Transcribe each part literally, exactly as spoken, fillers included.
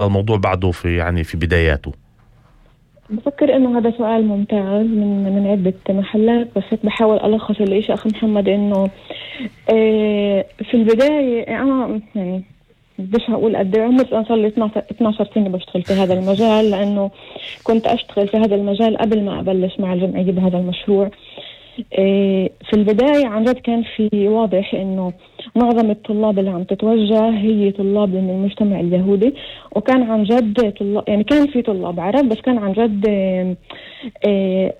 الموضوع بعده في يعني في بداياته؟ بفكر انه هذا سؤال ممتاز من من عدة محلات، بس هيك بحاول الخص الاشي اخي محمد. انه إيه في البداية انا يعني بديش هقول قد ايه عمري، انا صار لي اثني عشر سنة بشتغل في هذا المجال، لانه كنت اشتغل في هذا المجال قبل ما ابلش مع الجمعية بهذا المشروع. إيه في البداية عن جد كان في واضح انه معظم الطلاب اللي عم تتوجه هي طلاب من المجتمع اليهودي، وكان عن جد طلاب يعني كان في طلاب عرب، بس كان عن جد إيه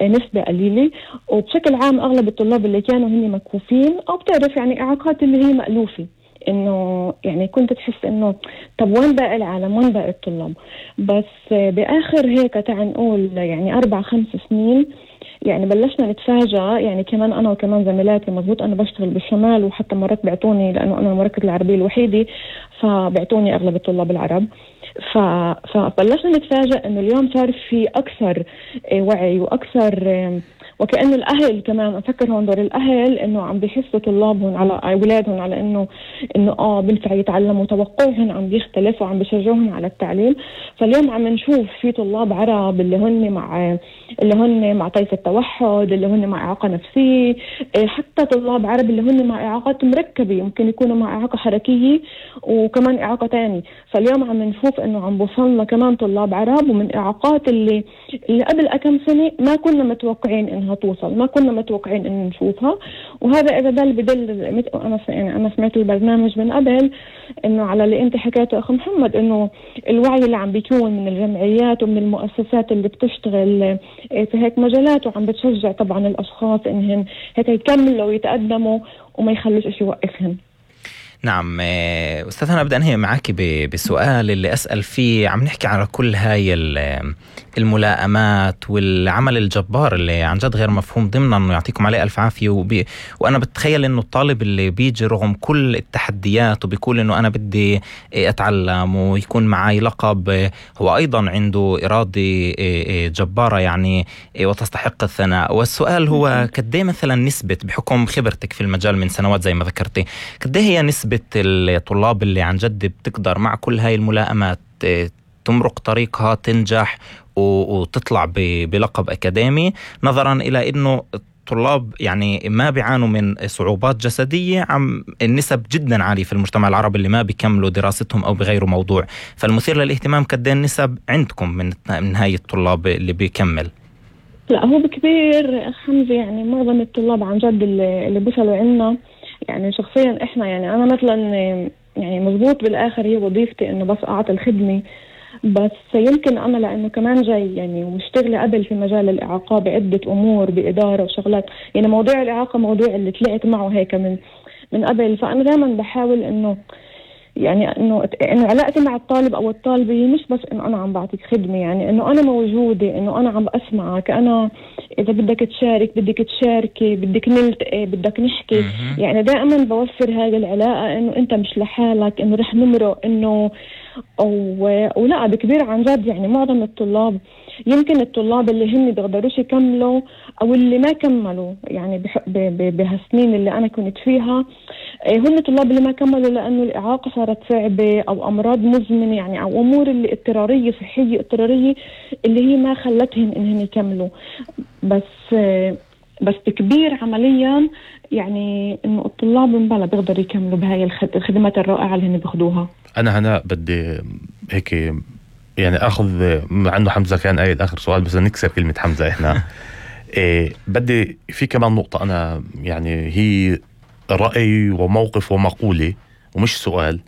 إيه نسبة قليلة. وبشكل عام اغلب الطلاب اللي كانوا هن مكفوفين او بتعرف يعني اعاقات اللي هي مألوفة، انه يعني كنت تحس انه طب وين باقي العالم، وين باقي الطلاب. بس باخر هيك تعال نقول يعني اربع خمس سنين يعني بلشنا نتفاجأ، يعني كمان أنا وكمان زميلاتي. مزبوط أنا بشتغل بالشمال، وحتى مرات بعتوني لأنه أنا المركز العربي الوحيدي فبعتوني أغلب الطلاب العرب. ف... فبلشنا نتفاجأ إنه اليوم صار في أكثر وعي وأكثر، وكأنه الأهل كمان أفكر هون دور الأهل إنه عم بيحسوا طلابهم على أولادهم على إنه إنه آه بنفع يتعلموا، توقعهم عم بيختلف وعم بيشجعهم على التعليم. فاليوم عم نشوف في طلاب عرب اللي هن مع اللي هن مع طيف التوحد، اللي هن مع إعاقة نفسية، حتى طلاب عرب اللي هن مع إعاقات مركبة، ممكن يكونوا مع إعاقة حركية وكمان إعاقة تاني. فاليوم عم نشوف إنه عم بوصلنا كمان طلاب عرب ومن إعاقات اللي اللي قبل كم سنة ما كنا متوقعين إنها توصل، ما كنا متوقعين إن نشوفها. وهذا إذا دل بدل أنا يعني أنا سمعت البرنامج من قبل إنه على اللي أنت حكيته أخي محمد، إنه الوعي اللي عم بيكون من الجمعيات ومن المؤسسات اللي بتشتغل في هيك مجالات وعم بتشجع طبعا الأشخاص إنهم هيك يكملوا ويتقدموا وما يخلوش إشي يوقفهم. نعم أستاذ، أنا بدي أنهي معك بسؤال اللي أسأل فيه. عم نحكي على كل هاي الملائمات والعمل الجبار اللي عن جد غير مفهوم ضمنا، إنه يعطيكم عليه ألف عافية. وبي وأنا بتخيل إنه الطالب اللي بيجي رغم كل التحديات وبيقول إنه أنا بدي أتعلم ويكون معي لقب، هو أيضا عنده إرادة جبارة يعني وتستحق الثناء. والسؤال هو قديه مثلا نسبة، بحكم خبرتك في المجال من سنوات زي ما ذكرتي، قديه هي نسبة الطلاب اللي عن جد بتقدر مع كل هاي الملائمات تمرق طريقها، تنجح وتطلع بلقب أكاديمي، نظرا إلى أنه الطلاب يعني ما بيعانوا من صعوبات جسدية؟ عم النسب جدا عالية في المجتمع العربي اللي ما بيكملوا دراستهم أو بغيروا موضوع. فالمثير للاهتمام قد النسب عندكم من من هاي الطلاب اللي بيكمل؟ لا هو بكبير حمزة، يعني معظم الطلاب عن جد اللي, اللي بيصلوا عنا يعني شخصيا احنا، يعني انا مثلا يعني مزبوط بالاخر هي وظيفتي انه بس اعطي الخدمة، بس يمكن انا لانه كمان جاي يعني ومشتغلة قبل في مجال الاعاقة بعدة امور بادارة وشغلات، يعني موضوع الاعاقة موضوع اللي طلعت معه هيك من من قبل. فانا دائما بحاول انه يعني انه انه علاقتي مع الطالب او الطالبه مش بس انه انا عم بعطيك خدمه، يعني انه انا موجوده، انه انا عم اسمعك، انا اذا بدك تشارك بدك تشاركي، بدك نلتقي، بدك نحكي. يعني دائما بوفر هذه العلاقه، انه انت مش لحالك، انه رح نمرق، انه ولا بكبير عن جد. يعني معظم الطلاب، يمكن الطلاب اللي هم بيقدروش يكملوا او اللي ما كملوا يعني بهالسنين اللي انا كنت فيها، هم الطلاب اللي ما كملوا لانه الاعاقه صارت صعبه او امراض مزمنه، يعني او امور اللي اضطراريه صحيه اضطراريه اللي هي ما خلتهم انهم يكملوا. بس بس بكبير عمليا يعني انه الطلاب من بلا بيقدروا يكملوا بهاي الخدمات الرائعه اللي هن بياخذوها. انا هنا بدي هيك يعني اخذ مع انه حمزه كان قايل اخر سؤال، بس نكسر كلمه حمزه احنا. إيه بدي في كمان نقطه، انا يعني هي رأي وموقف ومقولة ومش سؤال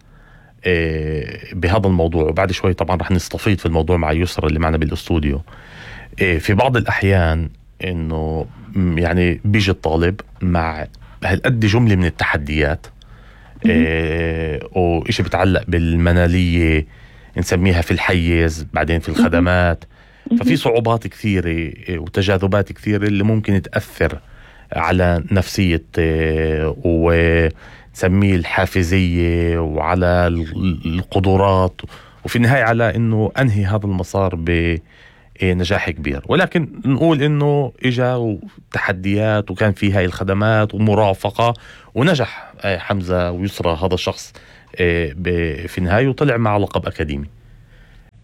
إيه بهذا الموضوع، وبعد شوي طبعا رح نستفيد في الموضوع مع يسرى اللي معنا بالاستوديو. إيه في بعض الأحيان إنه يعني بيجي الطالب مع هالقد جملة من التحديات، إيه وإشي بتعلق بالمنالية نسميها في الحيز، بعدين في الخدمات، ففي صعوبات كثيرة وتجاذبات كثيرة اللي ممكن تأثر على نفسية ونسميه الحافزية وعلى القدرات، وفي النهاية على انه انهي هذا المسار بنجاح كبير. ولكن نقول انه اجا تحديات وكان في هاي الخدمات ومرافقة ونجح حمزة ويسرى هذا الشخص في النهاية وطلع مع لقب أكاديمي.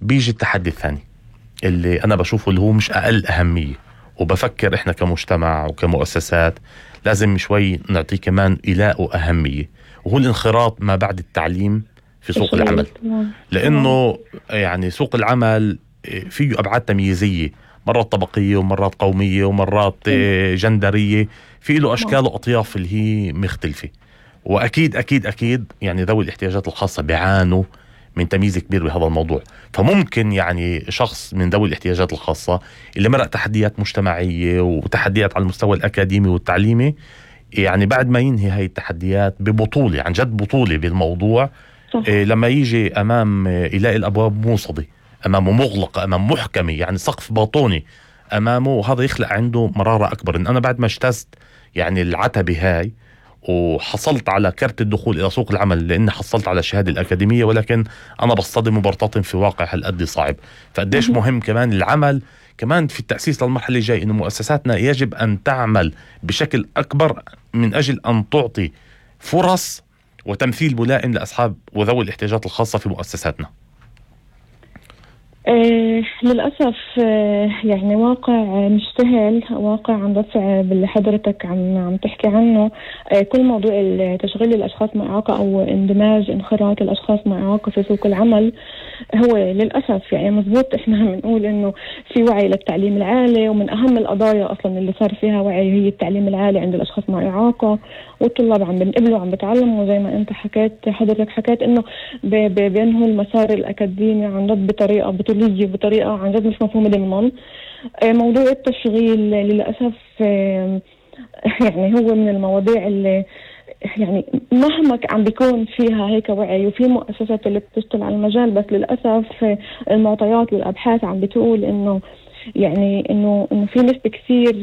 بيجي التحدي الثاني اللي أنا بشوفه اللي هو مش أقل أهمية، وبفكر إحنا كمجتمع وكمؤسسات لازم شوي نعطيه كمان إلاء وأهمية، وهو الانخراط ما بعد التعليم في سوق العمل. لأنه يعني سوق العمل فيه أبعاد تمييزية، مرات طبقية ومرات قومية ومرات جندرية، فيه له أشكال وأطياف اللي هي مختلفة. وأكيد أكيد أكيد يعني ذوي الاحتياجات الخاصة بيعانوا من تمييز كبير بهذا الموضوع. فممكن يعني شخص من ذوي الاحتياجات الخاصة اللي مرق تحديات مجتمعية وتحديات على المستوى الأكاديمي والتعليمي، يعني بعد ما ينهي هاي التحديات ببطولة، عن جد بطولة بالموضوع، إيه لما يجي أمام يلاقي الأبواب موصدة أمامه، مغلقة أمام محكمة، يعني سقف باطوني أمامه، وهذا يخلق عنده مرارة أكبر. إن أنا بعد ما اجتزت يعني العتبة هاي وحصلت على كرت الدخول إلى سوق العمل لأني حصلت على الشهادة الأكاديمية، ولكن أنا بصطدم وبرتطم في واقع هالقد صعب. فقديش مهم كمان العمل كمان في التأسيس للمرحلة الجاية، إنه مؤسساتنا يجب أن تعمل بشكل أكبر من أجل أن تعطي فرص وتمثيل ملائم لأصحاب وذوي الاحتياجات الخاصة في مؤسساتنا. آه للأسف آه يعني واقع مش سهل، واقع عم بصعب اللي حضرتك عم عم تحكي عنه. آه كل موضوع تشغيل الأشخاص مع إعاقة أو اندماج انخراط الأشخاص مع إعاقة في سوق العمل هو للأسف يعني مزبوط. إحنا عم نقول إنه في وعي للتعليم العالي، ومن أهم القضايا أصلا اللي صار فيها وعي هي التعليم العالي عند الأشخاص مع إعاقة، والطلاب عم بنقبلوا عم بتعلموا زي ما أنت حكيت حضرتك حكيت إنه بينهوا المسار الأكاديمي عن جد بطريقة بطولية بطريقة عن جد مش مفهومة ضمن. موضوع التشغيل للأسف يعني هو من المواضيع اللي يعني مهما عم بيكون فيها هيك وعي، وفي مؤسسات اللي بتشتغل على المجال، بس للأسف المعطيات والأبحاث عم بتقول إنه يعني إنه إنه في نسبة كثير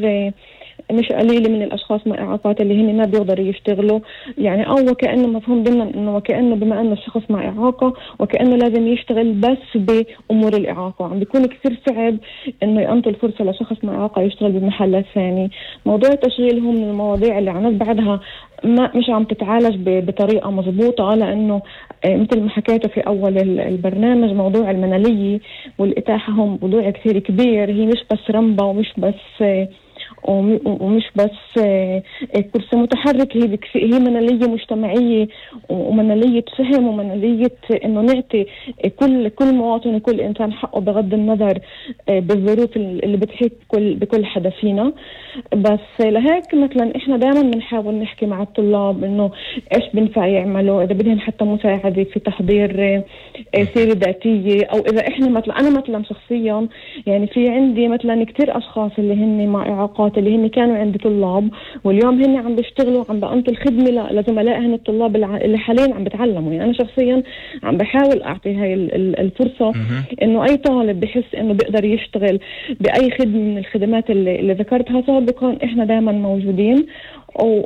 مش قليلة من الأشخاص مع إعاقات اللي هن ما بيقدروا يشتغلوا. يعني أو وكأنه مفهوم ضمن إنه وكأنه بما أنه الشخص مع إعاقة وكأنه لازم يشتغل بس بأمور الإعاقة، عم بيكون كثير صعب إنه ينطي الفرصة لشخص مع إعاقة يشتغل بمحلات ثاني. موضوع التشغيل هو من المواضيع اللي عن بعدها ما مش عم تتعالج بطريقة مضبوطة، لأنه مثل ما حكيته في أول البرنامج موضوع المنالية والإتاحة هم موضوع كثير كبير. هي مش بس رمبة ومش بس ومش بس كرسي متحرك، هي هي منالية مجتمعية ومنالية فهم ومنالية إنه نعطي كل كل مواطن وكل إنسان حقه بغض النظر بالظروف اللي بتحيط كل بكل حدا فينا. بس لهيك مثلا إحنا دائما بنحاول نحكي مع الطلاب إنه إيش بنفع يعملوا إذا بدهم حتى مساعدة في تحضير سيرة ذاتية، أو إذا إحنا مثلا أنا مثلا شخصيا يعني في عندي مثلا كتير أشخاص اللي هن مع إعاقات اللي هن كانوا عندي طلاب واليوم هن عم بيشتغلوا عم بأنطوا الخدمة لزملائهم الطلاب اللي حاليا عم بتعلموا. يعني أنا شخصيا عم بحاول أعطي هاي الفرصة إنه أي طالب بحس إنه بيقدر يشتغل بأي خدمة من الخدمات اللي, اللي ذكرتها سابقا إحنا دائما موجودين.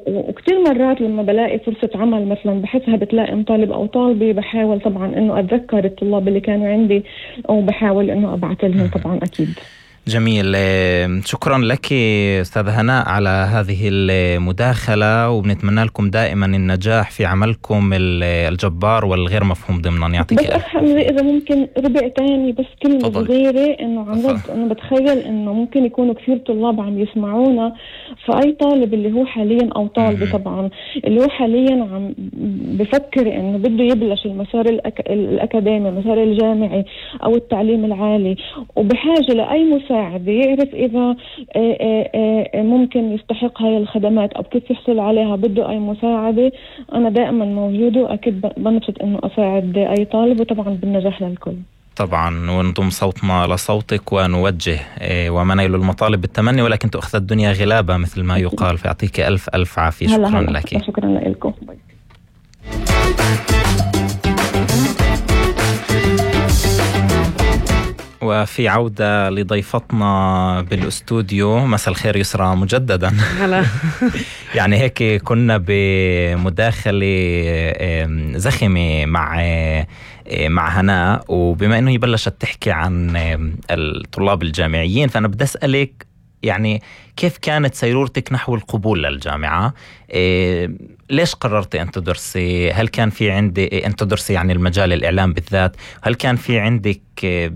وكتير مرات لما بلاقي فرصة عمل مثلا بحسها بتلاقي طالب أو طالبة بحاول طبعا إنه أتذكر الطلاب اللي كانوا عندي أو بحاول إنه أبعث لهم طبعا أكيد. جميل، شكرا لك أستاذ هناء على هذه المداخلة، وبنتمنى لكم دائما النجاح في عملكم الجبار والغير مفهوم ضمنا. يعطيك بس أحمد إذا ممكن ربع تاني بس كلمة صغيرة إنه عن جد أنا بتخيل إنه ممكن يكونوا كثير طلاب عم يسمعونا، فأي طالب اللي هو حاليا أو طالبة طبعا اللي هو حاليا عم بفكر إنه بده يبلش المسار الأك... الأكاديمي المسار الجامعي أو التعليم العالي وبحاجة لأي مساعدة يعرف إذا ممكن يستحق هاي الخدمات أو كيف يحصل عليها، بده أي مساعدة أنا دائما موجودة وأكيد بنبسط إنه أساعد أي طالب، وطبعا بالنجاح للكل. طبعا ونضم صوتنا لصوتك ونوجه وما نيل المطالب بالتمني ولكن تأخذ الدنيا غلابة مثل ما يقال. فيعطيك ألف ألف عافية. شكرا هلا هلا. لك شكرا لكم. وفي عودة لضيفتنا بالاستوديو. مساء الخير يسرى مجددا. هلا. يعني هيك كنا بمداخلة زخمة مع مع هناء، وبما انه يبلشت تحكي عن الطلاب الجامعيين فأنا بدي أسألك يعني كيف كانت سيرورتك نحو القبول للجامعة؟ إيه ليش قررت أن تدرسي؟ هل كان في عندي أن تدرسي يعني المجال الإعلام بالذات؟ هل كان في عندك